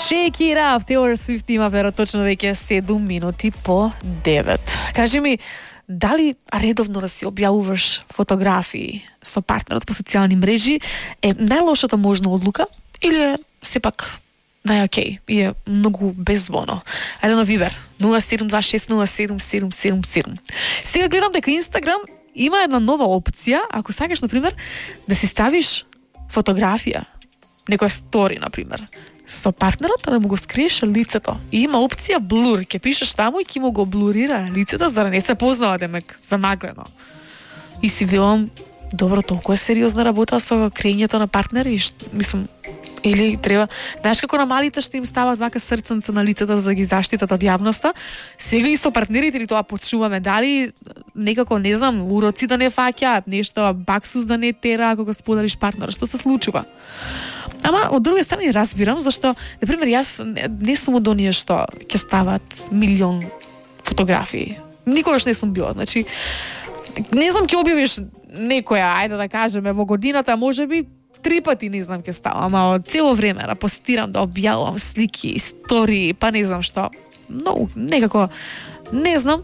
Shake it up, Taylor Swift има вероятно веќе 7 минути по 9. Кажи ми, дали редовно да си објавуваш фотографии со партнерот по социјални мрежи е најлошата можна одлука или е сепак најокей и е многу безбоно? Ајде на Вибер 0726077777. Сега гледам дека Инстаграм има една нова опција, ако сакаш на пример да си ставиш фотографија, некоја стори на пример, со партнерот, да му го скриеш лицето. И има опција блур, ќе пишеш таму и ќе му го блурира лицето за да не се познава демек замаглено. И си велам, добро, толку е сериозна работа со крејењето на партнери, мислам, или треба, знаеш како на малите што им стават вака срценца на лицата за да ги заштитат од јавноста, сега и со партнерите ли тоа почуваме, дали некако, не знам, уроци да не фаќаат, нешто баксус да не тера ако го споделиш партнер, што се случува? Ама, од друга страна, разбирам, зашто, например, јас не сум од оние што ќе стават милион фотографии. Никогаш не сум била, значи, не знам, ќе објавиш некоја, ајде да кажеме, во годината, можеби 3 пати, не знам, ќе ставам, ама од цело време да постирам, да објавувам слики, истории, па не знам што. Но, некако, не знам,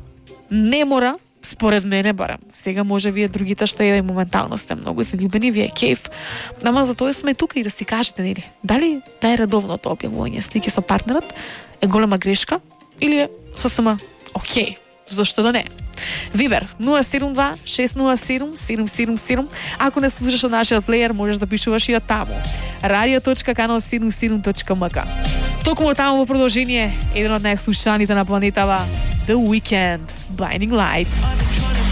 не мора, според мене барам. Сега може вие другите што е моментално сте многу заљубени, вие кеф. Ама за тоа сме тука и да си кажете, нели, дали најредовното објавување слики со партнерот е голема грешка или е сосема окей, зашто да не? Вибер 072-607-777. Ако не слушаш од нашиот плеер, можеш да пишуваш и од таму. radio.canal77.mk. Токму таму во продолжение еден од најслушаните на планетава, The Weeknd, Blinding Lights.